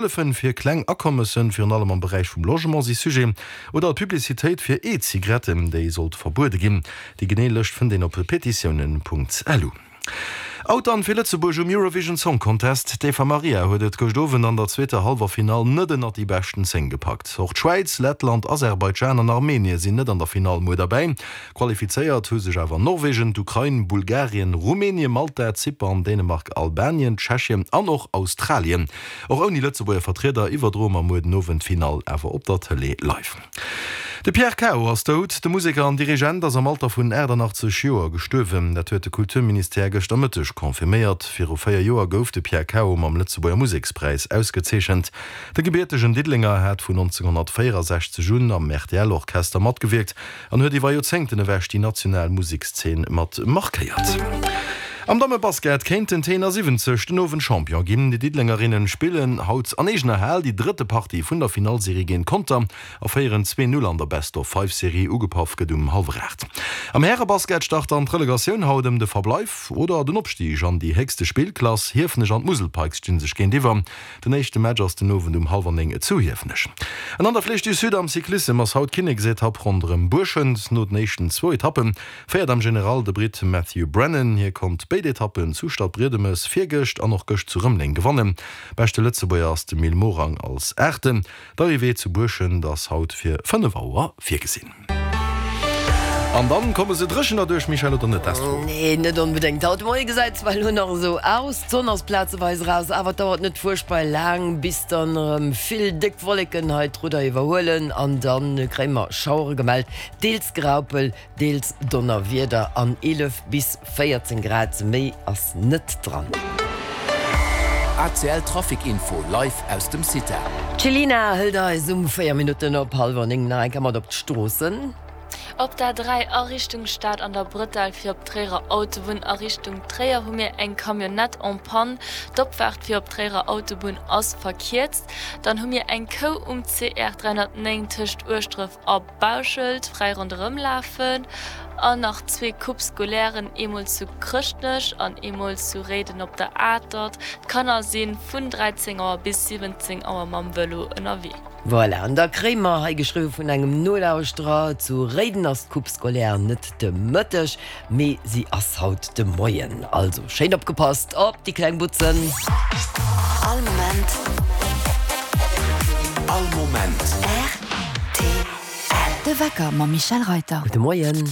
Hëllefen fir kleng Akommessen, virun allem am Beräich vum Logement, si Sujet. Oder d'Publicitéit fir E-Zigaretten, déi sollt verbuede ginn. Déi genee Lëscht fënnt een op petitiounen.lu. Out dann fir Lëtzebuerg um Eurovision Song Contest. D'Eva Marija huet et gëscht Owend an der zweeter Hallwer Finall net ënnert déi beschten 10 gepackt. Och d'Schwäiz, Lettland, Aserbaidschan an Armenie sinn net an der Finall muer derbäi. Qualifizéiert hu sech awer Norwegen, d'Ukrain, Bulgarien, Rumänien, Malta, Zypern, Dänemark, Albanien, Tschechien an och Australien. Och ouni Lëtzebuerger Vertrieder iwwerdroe mer muer den Owend d'Finall awer op der Tëlee live. De Pierre Cao ass dout. De Museker an Dirigent ass am Alter vun 88 Joer gestuerwen. Dat huet de Kulturministère gëschter Mëtteg confirméiert. Viru 4 Joer gouf de Pierre Cao mam Lëtzebuerger Musekspräis ausgezeechent. De gebiertegen Diddelenger hat vun 1964 un am RTL-Orchester matgewierkt An huet iwwer Joerzéngten ewech déi national Musekszeen mat markéiert. Am Dammebasket kéinten d'T71 den Owend Champion ginn. Déi Diddelengerinnen spillen haut an eegener Hal déi drëtte Partie vun der Finallserie géint Conter a féieren 2, 0 an der Best-of-Five-Serie. Ugepaff gëtt um hallwer 8. Am Härebasket start dann d'Relegatioun haut ëm de Verbleif oder den Opstig an déi héchste Spillklass. Hiefenech an d'Musel Pikes sti sech géintiwwer. Den éischte Match ass den Owend um hallwer 9 zu Hiefenech. An an der Flèche du Sud am Cyclissem ass haut d'Kinneksetapp ronderëm Buerschent. No den éischten zwou Etappe féiert am General de Britt Matthew Brennan. Hie konnt béid Etappen zu Stadbriedemes virgëscht an och gëscht zu Rëmeleng gewannen. Beschte Lëtzebuerger ass de Mil Morang als Aachten. D'Arrivée zu Buerschent ass haut fir 5 Auer virgesinn. An dann komme se dréchen derduerch, Michèle, oder net? Astro? Nee, net onbedéngt. Haut de Moie gesäit zwar elo nach esou aus, d'Sonn ass plazeweis eraus, awer et dauert net fuerchtbar laang, bis dann erëm vill déck Wolleken hei d'Rudder iwwerhuelen an dann kréie mer Schauere gemellt, deels Graupel, Deels Donnerwieder an 11 bis 14 Grad, méi ass net dran. ACL Trafic Info live aus dem CITA. D'Chelina hëlt eis um 4 Minutten op hallwer 9 nach eng Kéier mat op d'Stroossen. Op der 3 a Richtung Stad an der Bretelle fir op d'Tréierer Autobunn a Richtung Tréier hu mir eng Camionnette en panne. D'Opfaart fir op d'Tréierer Autobunn ass verkierzt. Dann hu mir eng Kou um CR 309 tëscht Ueschdref a. Bauschelt fräi ronderëm lafen an nach zwee Coupes scolairen, eemol zu Chrëschtnech an eemol zu Réiden op der Atert. D'Kanner si vun 13 Auer bis 17 Auer mam Vëlo ënnerwee. Voilà, an da kréie mer hei geschriwwe vun engem Nolauschterer, Zu Réiden ass d'Coupe scolaire net de Mëtteg, mee si ass haut de Moien. Also schéin opgepasst op déi kleng Butzen! All Moment. All Moment. Rtl. De Wecker mam Michèle Reyter. Gudde Moien.